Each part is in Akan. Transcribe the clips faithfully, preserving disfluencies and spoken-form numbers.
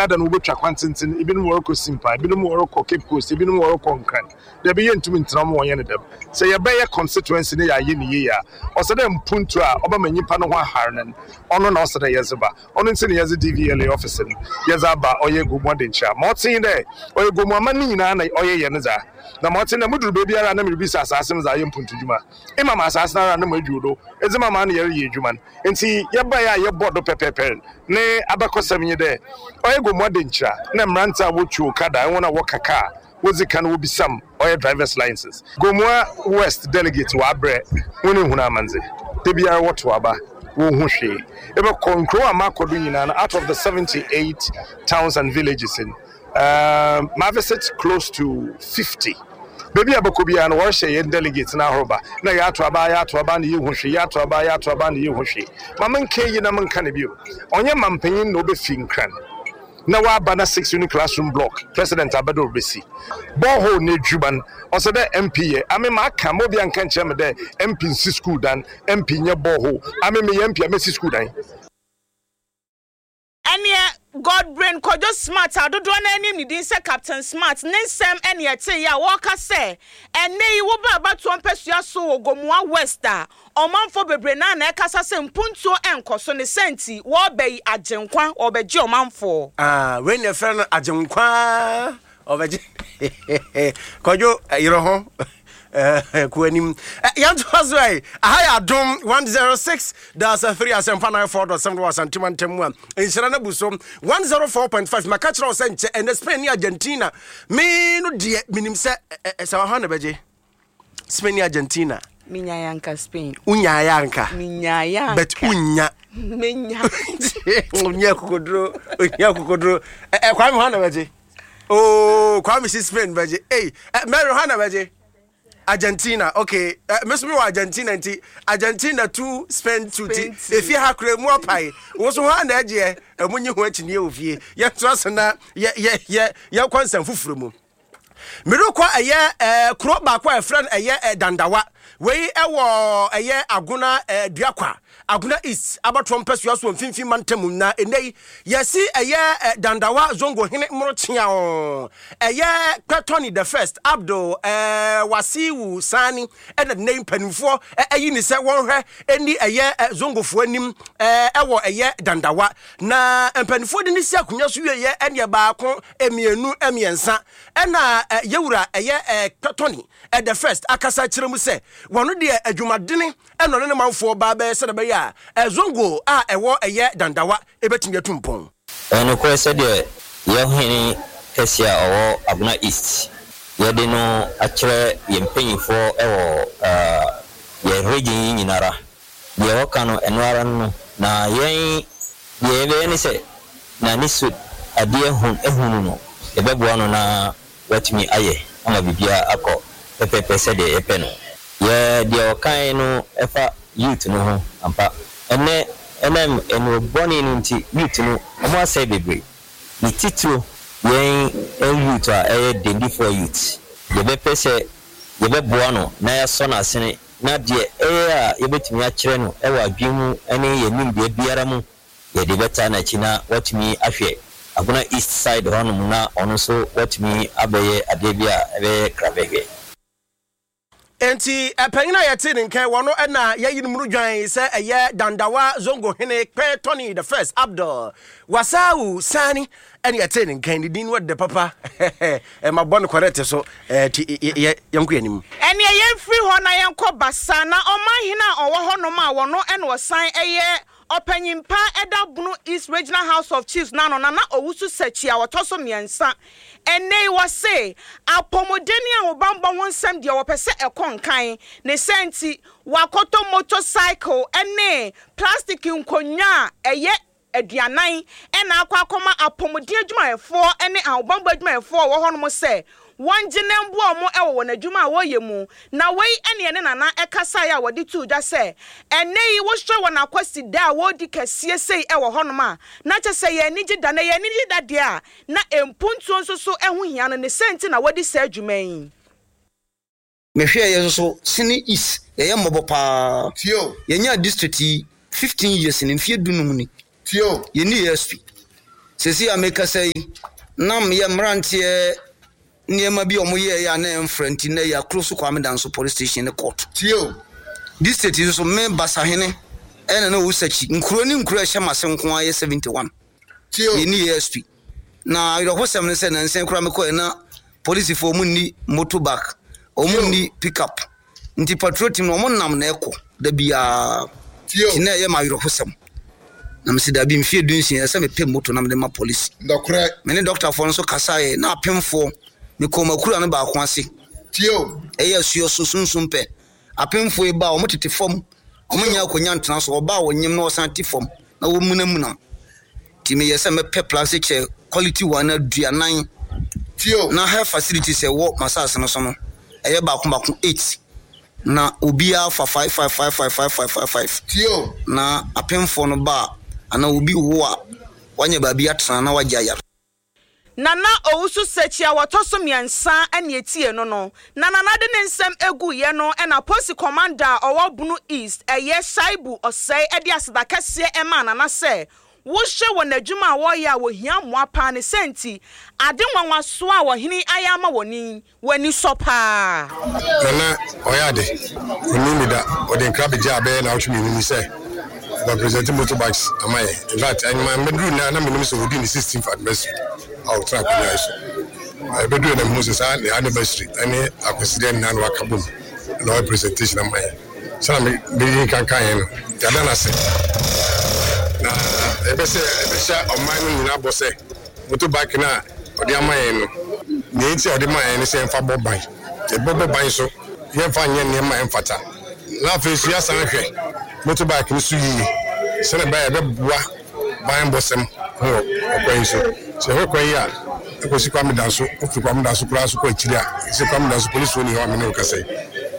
biara da no wobɛtwa kwan tenten, ebinom wɔrekɔ Simpa, ebinom wɔrekɔ Cape Coast, ebinom wɔrekɔ Nkran. Dabi, yɛntumi ntena mu wɔnyɛ no dɛm. Sɛ yɛbɛyɛ constituency ne yɛayɛ ne yie a, ɔsɛ dɛ mpuntu a ɔbɛma nyimpa no ho ahare no, ɔno na ɔsɛ dɛ yɛdze ba. Ɔno nti na yɛdze D V L A office no yɛdze aba ɔyɛ Gomu Adenkyerɛ. Ma ɔtee dɛ ɔyɛ Gomu ama ne nyinaa na ɔyɛ yɛ no dza na ma ɔte dɛ moduru baabiara na merebisa asase no dza ayɛ mpuntu dwuma ima ma asase no ara na mo adwuo do edze ma ma na yɛreyɛ adwuma no. Nti yɛbaeɛ a yɛbɔ do pɛpɛɛpɛ ne abakɔsɛm nye dɛ ɔyɛ Gomu Adenkyerɛ na mmerante a wotwi okada, ɛwɔn a wɔka kaa wodzi kan wobisam ɔyɛ drivers license. Gomua West delegate wɔabrɛ wɔn ehunu amandze de biara wɔto aba wɔnhu hwee. Ebɛkɔ nkurow a makɔ do nyinaa no, out of the seventy-eight towns and villages in um, ma visit close to fifty, baabi a bɛkɔ biara no wɔrehyɛ yɛn delegate no ahoroba na yɛato aba, yɛato aba na yɛhu hwee, yɛato aba, yɛato aba na yɛhu hwee. Ma menka yi na menka ne bio, ɔnyɛ mampanyin na ɔbɛfi Nkran na waba na six unit classroom block president abɛdɛ ɔbɛsi borehole na adwuma no ɔsɛ dɛ M P yɛ ame ma aka ma obi anka nkyerɛ me dɛ M P nsi school dan, M P nyɛ borehole. Ame meyɛ M P a mɛsi school dan. Ɛneɛ Godbrain Kwadwo Smart a dodoɔ no anim ne din sɛ Captain Smart ne nsɛm ɛne ɛte yi a wɔreka sɛ ɛnɛ yi woba abatoɔ mpɛsua so wɔ Gomua West a, ɔmanfoɔ bebree naa na ɛkasa sɛ mpuntuo ɛnkɔ so ne sɛnti wɔreba yi Agyenkwa wɔbɛgye ɔmanfoɔ. Ah, wei na ɛfrɛ no Agyenkwa ɔbɛgye. Kwadwo yerɛ ho kɔ anim. Yɛntoa so ɛ. Aha yɛ Adom one oh six point three, Asɛmpa ninety-four point seven wɔ Asantema ntam mu a nhyira no abu so one oh four point five. Maka kyerɛ wo sɛ nkyɛ ɛnɛ Spain ne Argentina. Me no deɛ menim sɛ sɛ wahɔ na bɛgye Spain ne Argentina. Menyaeɛ anka Spain. Wonyaeɛ anka. Menyaeɛ anka. But wonya. Menya. Onya kokoduro, onya kokoduro. Ɛ Kwame, hɔ na bɛgye? Oh, Kwame si Spain bɛgye. Ei, Mary, hɔ na bɛgye? Argentina. Okay, uh, me wɔ Argentina nti Argentina two, Spain two. Ti efie ha kura mu apae wo so hɔ na ɛgyeɛ ɛmo nye ho akyinie wɔ fie. Yɛtoa so na yɛ yɛ yɛ yɛkɔ nsɛm foforɔ mu. Merekɔ ɛyɛ ɛɛ kuro baako a yɛfrɛ no ɛyɛ ɛ Dandawa. Wei ɛwɔ ɛyɛ Agona ɛɛ Duakwa, Agona East abatoɔ mpɛsua so wɔ Mfimfini mantam. Na ɛnɛ yi yɛsi ɛyɛ ɛ Dandawa Zongo hene mmorokyea ɛyɛ Kpɛtɔni the First Abdul ɛɛ Wasiwu Sani ɛna nnɛ yi mpanimfoɔ ɛyi ne sɛ wɔnhwɛ ɛni ɛyɛ ɛ zongofoɔ anim ɛɛ ɛwɔ ɛyɛ Dandawa. Na mpanimfoɔ de ne si akonnwa so wieɛ ɛneɛ baako, mmienu, mmiɛnsa ɛna ɛ yɛwura ɛyɛ ɛ Kpɛtɔni ɛ the First akasa kyerɛ mu sɛ wɔn deɛ adwumadene ɛna ɔne ne manfoɔ baa bɛyɛ sɛ ɛbɛyɛ a ɛzongo a ɛwɔ ɛyɛ Dandawa ɛbɛtumi atu mpɔn. Ɛnokorɛ, sɛdeɛ yɛhene kɛseɛ a ɔwɔ Agona East yɛde no akyerɛ yɛn mpanyinfoɔ ɛwɔ yɛn region yi nyinara, deɛ wɔka no ɛno ara no. Na yɛn deɛ yɛbɛyɛ ne sɛ n'ani so adeɛ ehunu no, yɛbɛboa no na watumi ayɛ ama biribiara akɔ pɛpɛpɛ sɛdeɛ yɛpɛ no. Yɛ deɛ ɔkan no ɛfa youth no ho ampa, ɛnɛ ɛnam ɛnu bɔne no nti youth no wɔn asɛe bebree. Ne titiro yɛn youth a ɛyɛ Dendifoɔ youth, yɛbɛpɛ sɛ yɛbɛboa no na yɛasɔ n'asene na deɛ ɛyɛ a yɛbɛtumi akyerɛ no ɛwɔ adwene mu ne yɛn nimdeɛ biara mu, yɛde bɛta n'akyi na watumi ahwɛ Agona East side hɔnom na ɔno nso watumi abɛyɛ adeɛ bi a ɛbɛyɛ krabɛhwɛ. Nti ɛpanyin a yɛte ne nkan wɔn ɛna yɛyi no mu dwan sɛ ɛyɛ Dandawa Zongo hene Kpɛ Tony the First Abdul Wasawu Sani ɛne yɛte ne nkan. Ne din no ɛdɛ papa, ɛma bɔ no correct so. Ɛɛ ti yɛ yɛnkɔ anim. Ɛneɛ yɛmfiri hɔ na yɛnkɔ Basa na ɔmanhene a ɔwɔ hɔnom a wɔno ɛna ɔsan ɛyɛ ɔpanyimpa ɛda Bono East Regional House of Chiefs n'ano, Nana Owusu Sɛkyi a wɔtɔ so mmiɛnsa, ɛnɛ yi wɔse apɔmuden ne ahobanbɔ ho nsɛm deɛ wɔpɛ sɛ ɛkɔ nkan ne sɛ nti wakɔtɔ motorcycle ɛne plastic nkonnwa a ɛyɛ aduanan ɛna akɔ akɔma apɔmuden adwumayɛfoɔ ne ahobanbɔ adwumayɛfoɔ a wɔwɔ hɔnom sɛ wɔngye ne mboa wɔn wɔ wɔn adwuma a wɔreyɛ mu. Na wei ɛne ɛne Nana ɛkasaeɛ a wɔde too dwa sɛ ɛnɛ yi wohwɛ wɔn akwasi da a wɔredi kɛseɛ sei ɛwɔ hɔnom a, na kyɛ sɛ yɛn ani gye da na yɛn ani gye da deɛ a na mpuntuo nso so ɛho hia no ne sɛ nti na wɔde saa adwuma yi. Mehwɛ yɛ nso so Sene East yɛyɛ mmɔbɔ paa. Yɛnya district yi fifteen years ne mfeɛ dunum ni yɛni A S P. Sesi a mekasa yi, nam yɛ mmeranteɛ nneɛma bi a wɔyɛeɛ a na ɛmfra nti, nnɛ yɛakuro so Kwame Danso Police Station ne court. Tie o. District yi nso, me Basahene ɛna na Owusakyi. Nkuro ne nkuro a ɛhyɛ m'ase nko ara yɛ seventy-one. Tie o. Yɛnni A S P. Na awerɛhosɛm ne sɛ nansa koraa mekɔɛ na polisifoɔ, ɔmo nni motorbike, ɔmo nni pickup, nti patrol team no, ɔmo nam na ɛkɔ da biara. Tie o. Nti na ɛyɛ ma awerɛhosɛm na mesi dabi, mfie du nsia, ɛsɛ mepɛ moto na mede ma polisi. Ndɔkorɛ. Me ne dɔktafoɔ no nso kasaeɛ na apemfoɔ, mekɔɔ makura no baako ase. Tie o. Ɛyɛ asuo so sunsum pɛ, apemfoɔ yi ba a, ɔmo tete fam, ɔmo nya akonnwa ntena so. Ɔba a wɔnyim na ɔsan te fam na wɔmunamuna, nti meyɛ sɛ mɛpɛ plastic chair quality one aduanan. Tie o. Na health facilities ɛwɔ masase no so no, ɛyɛ baako baako eight, na obiara fa five five five five five five five five. Tie o. Na apemfoɔ no ba a, anaa obi wo a, wanya baabi atena na wagye ayare. Nana Owusu Sɛkyi a wɔtɔ so mmiɛnsa ne etie no no na Nana de ne nsɛm egu yɛ no, ɛna Polisi Commander a ɔwɔ Bono East, ɛyɛ Shaibu Ɔsɛe, ɛde aseda kɛseɛ ɛmaa Nana sɛ wohyɛ wɔ n'adwuma a wɔreyɛ a wɔhia mmoa paa ne sɛ nti ade nwanwasoɔ a wɔhene ayɛ ama wɔn ni wɔn ani sɔ paa. Nana ɔyɛ ade ɔni mi da, ɔde nkra bɛgye a bɛyɛ n'awotwe mmienu ni sɛ ɔba present motorbikes ama yɛ. In fact, ɛnyuma mbɛduru na na menim sɛ ɔdi ne sixteenth anniversary a ɔtena akonnwa yi so. Ɛbɛduru na mehu sɛ saa ne anniversary ɛne akwasideɛ nyinaa na waka bom na ɔyɛ presentation ama yɛ. Sɛna mede nkankan yɛn no, yɛada no ase na ɛbɛ sɛ ɛbɛhyɛ ɔman no nyinaa bɔ sɛ motorbike no a ɔde ama yɛn no, nea nti a ɔde ma yɛn no sɛ yɛmfa bɔ ban, yɛbɛbɔ ban so, yɛmfa nyɛ nneɛma a ɛmfata, na afei so yɛasan hwɛ motorbike no so yie sɛnɛ ɛbɛyɛ yɛbɛboa ban bɔsɛm ho wɔ ɔkwan yi so. Sɛ yɛhwɛ kwan yi a ɛkɔsi Kwame Danso, wofiri Kwame Danso koraa so kɔ akyiri a, sɛ Kwame Danso polisifoɔ ni hɔ a mene wo kasa yi,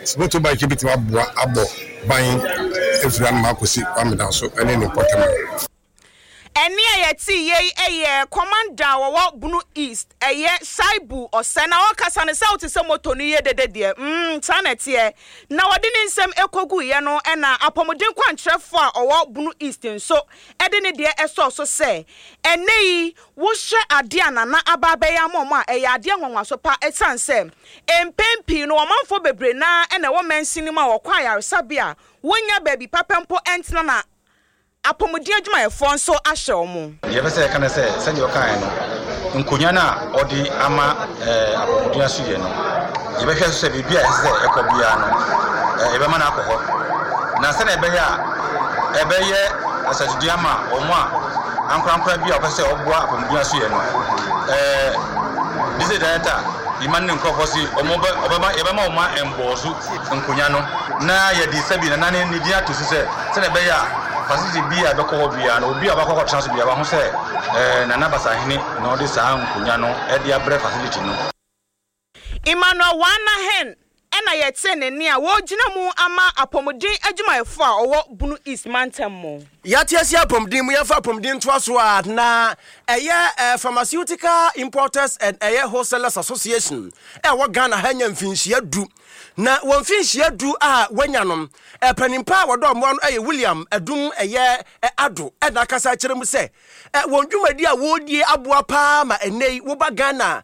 sɛ motorbike yi bɛtumi aboa abɔ ban afiri anom akɔsi Kwame Danso ɛne ne mpɔtam. Ɛne a yɛte yei ɛyɛ commander a wɔwɔ Bono East, ɛyɛ Shaibu Ɔsɛ, na ɔkasa no sɛ wote sɛ moto no yɛ dede deɛ mm saa na ɛteɛ. Na wɔde ne nsɛm ɛkɔguiɛ no, ɛna apɔmuden kwankyerɛfoɔ a ɔwɔ Bono East nso ɛde ne deɛ ɛsɔɔ so sɛ ɛnɛ yi wohyɛ adeɛ a Nana aba abɛyɛ ama ɔmo a, ɛyɛ adeɛ nwanwaso pa, ɛsiane sɛ mpɛn pii no ɔmanfoɔ bebree naa ɛna ɛwɔ mansin no mu a wɔkɔ ayaresabea a wɔnya baabi papa mpo ɛntena, na apɔmuden adwumayɛfoɔ nso ahyɛ wɔn. Deɛ ɛpɛ sɛ yɛka no sɛ, sɛdeɛ ɔkaeɛ no, nkonnwa no a ɔde ama ɛɛ apɔmuden aso yɛ no, yɛbɛhwɛ so sɛ biribi a ɛsɛ sɛ ɛkɔ biara no, ɛɛ yɛbɛma no akɔ hɔ, na sɛdeɛ ɛbɛyɛ a ɛbɛyɛ asatudua ama wɔn a ankorankora bi a wɔpɛ sɛ ɔboa apɔmuden aso yɛ no, ɛɛ district director yima ne nkurɔfoɔ si wɔn bɛ ɔbɛma yɛbɛma wɔn mbɔɔ so nkonnwa no, na yɛde sɛbi nana ne ne din ato so sɛ sɛdeɛ ɛbɛyɛ a facility bi a ɛbɛkɔ hɔ biara no, obi a ɔbɛkɔ akɔtena so biara waho sɛ ɛɛ Nana Basahene na ɔde saa nkonnwa no ɛde abrɛ facility no. Emmanuel Wanahen ɛna yɛte ne nne a wɔgyina mu ama apɔmuden adwumayɛfoɔ a ɔwɔ Bono East mantam mu. Yɛate ase apɔmuden mu, yɛmfa apɔmuden ntoa so a, na ɛyɛ eh, Pharmaceutical Importers and ɛyɛ Wholesalers Association ɛwɔ Ghana ha nya mfinhyia du, na wɔn mfinhyia du a wɔanya no, panimpa a wɔdɔ mmoa no ɛyɛ William Adum ɛyɛ Ado, ɛna akasa akyerɛ mu sɛ wɔn dwumadi a wɔredie aboa paa ma ɛnɛ yi woba Ghana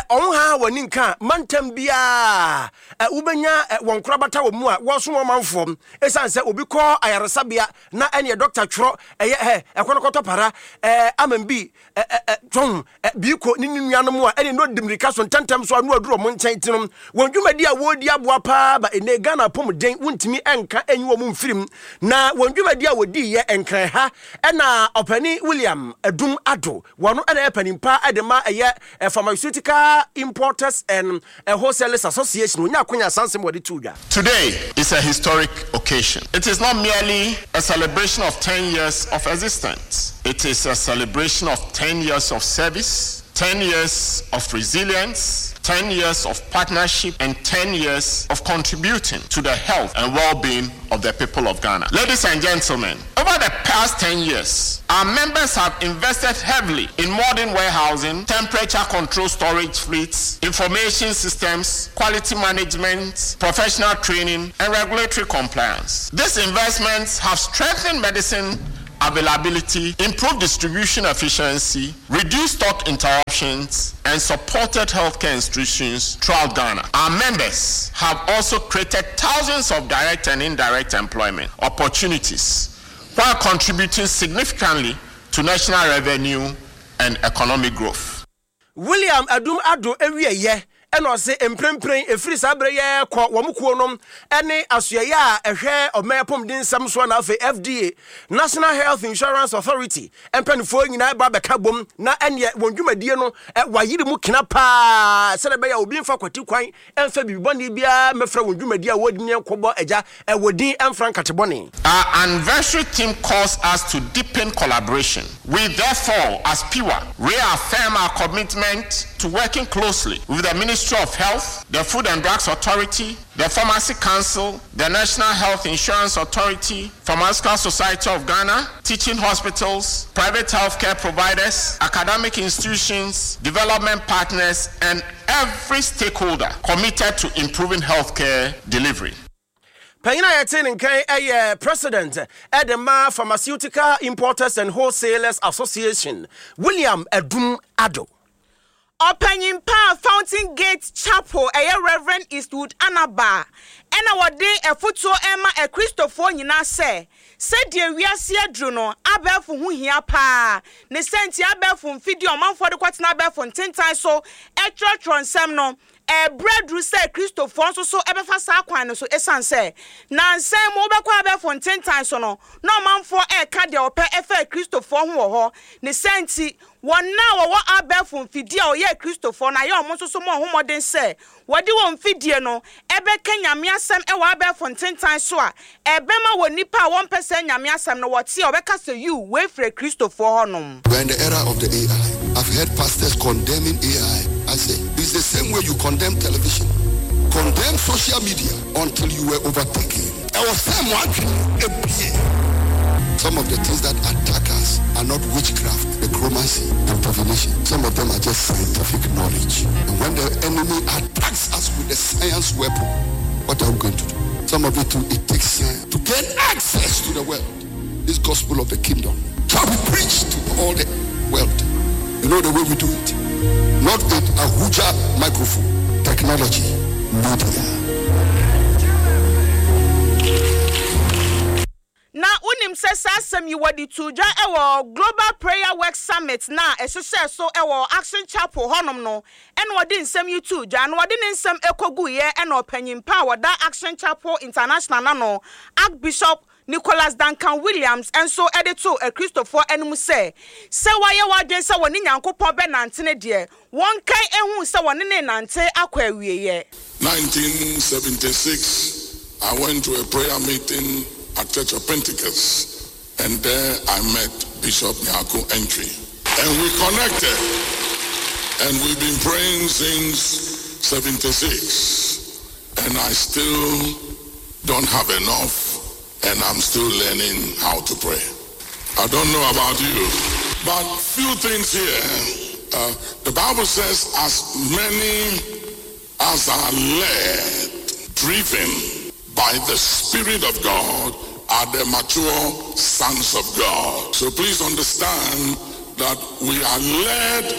ɔho ha w'ani nka mantam biara wobɛnya wɔn korabata wɔ mu a wɔsom ɔmanfoɔ, ɛsiane sɛ obi kɔ ayaresabea na ɛneɛ dɔkta twerɛ ɛyɛ ɛ ɛkɔ no kɔtɔ para ɛɛ ama bi tɔn biiko ne ne nuanom a, ɛne no di mmirika so ntɛntɛm so a no aduru ɔmo nkyɛn. Ti no wɔn dwumadi a wɔredi aboa paa ma ɛnɛ Ghana apɔmuden wontumi ɛnka ɛnyi wɔn mfirim, na wɔn dwumadi a wɔdi yɛ Nkran ha, ɛna ɔpani William Adum Ado, wɔn ɛna yɛ panimpa ɛde ma ɛyɛ Pharmaceutical Importers and Wholesalers Association, onya akonya asansɛm wɔde to dwa. Today is a historic occasion. It is not merely a celebration of ten years of existence. It is a celebration of ten years of service, ten years of resilience, ten years of partnership, and ten years of contributing to the health and well-being of the people of Ghana. Ladies and gentlemen, over the past ten years, our members have invested heavily in modern warehousing, temperature control storage fleets, information systems, quality management, professional training, and regulatory compliance. These investments have strengthened medicine availability, improved distribution efficiency, reduced stock interruptions, and supported healthcare institutions throughout Ghana. Our members have also created thousands of direct and indirect employment opportunities while contributing significantly to national revenue and economic growth. William Adum Ado ewieyɛ ɛna ɔse mprempren ɛfiri saa berɛ yɛ kɔ wɔn kuo nom ɛne asoɛyɛ a ɛhwɛ ɔman apɔmuden nsɛm soɔ na afei F D A, National Health Insurance Authority mpanimfoɔ nyinaa ba bɛka bom na ɛneɛ wɔn dwumadie no wayere mu kena paa sɛdeɛ ɛbɛyɛ a obi mfa kwati kwan ɛmfa biribi bɔne biara mɛfrɛ wɔn dwumadie a wɔdi ne nkɔbɔ agya ɛwɔ din ɛmfra nkate bɔne. Our anniversary theme calls us to deepen collaboration. We therefore, as P W A, reaffirm our commitment to working closely with the Ministry of Health, the Food and Drugs Authority, the Pharmacy Council, the National Health Insurance Authority, Pharmaceutical Society of Ghana, teaching hospitals, private healthcare providers, academic institutions, development partners, and every stakeholder committed to improving healthcare delivery. Panyin a yɛte ne nkan ɛyɛ president ɛde ma Pharmaceutical Importers and Wholesalers Association, William Adum Ado. Ɔpanyin pa Fountain Gate Chapel, ɛyɛ Reverend Eastwood Anaba, ɛna wɔde ɛfotuo ɛma akristofoɔ nyinaa sɛ sɛdeɛ wiase aduru no, abɛɛfo ho hia paa ne sɛnti abɛɛfo mfidie ɔmanfoɔ de kɔtena abɛɛfo ntentan so ɛtwerɛtwerɛ nsɛm no, ɛbrɛ duru sɛ Kristofoɔ nso so ɛbɛfa saa kwan no so, ɛsiane sɛ nansan mu wobɛkɔ abɛɛfo ntentan so no na ɔmanfoɔ ɛreka deɛ ɔpɛ ɛfɛ Kristofoɔ ho wɔ hɔ. Ne sɛnti wɔn a wɔwɔ abɛɛfo mfidie a ɔyɛ Kristofoɔ no ayɛ ɔmo nso so mo ɔhomɔden sɛ wɔde wɔn mfidie no ɛbɛka Nyame asɛm ɛwɔ abɛɛfo ntentan so a ɛbɛma wɔ nipa a wɔmpɛ sɛ Nyame asɛm no wɔte a ɔbɛka sɛ yiw, wɔefiri Kristofoɔ hɔnom. We're in the era of the A I. I've heard pastors condemning A I. I say, it's the same way you condemn television, condemn social media until you were overtaken. I was saying, some of the things that attack us are not witchcraft, necromancy, and divination. Some of them are just scientific knowledge. And when the enemy attacks us with the science weapon, what are we going to do? Some of it too, it takes science to gain access to the world. This gospel of the kingdom shall be preached to all the world. You know the way we do it? Not with a Ahuja microphone, technology, media. Na wonim sɛ saa asɛm yi wɔde to dwa ɛwɔ Global Prayer Work Summit na ɛhyehyɛ so ɛwɔ Action Chapel hɔnom no, ɛna wɔde nsɛm yi to dwa na wɔde ne nsɛm ɛkɔguiɛ, ɛna ɔpanyin pa a wɔda Action Chapel International nano, Archbishop Nicholas Duncan Williams, nso de to Akristofoɔ anim sɛ sɛ wɔayɛ wɔadwen sɛ wɔne Nyankopɔn bɛnante ne deɛ wɔnkae ehu sɛ wɔne ne nante akɔ awieeɛ. nineteen seventy-six, I went to a prayer meeting at Church of Pentecost, and there I met Bishop Nyarko Antwi. And we connected, and we've been praying since seventy-six. And I still don't have enough, and I'm still learning how to pray. I don't know about you, but few things here. Uh, the Bible says, as many as are led, driven by the Spirit of God, are the mature sons of God. So please understand that we are led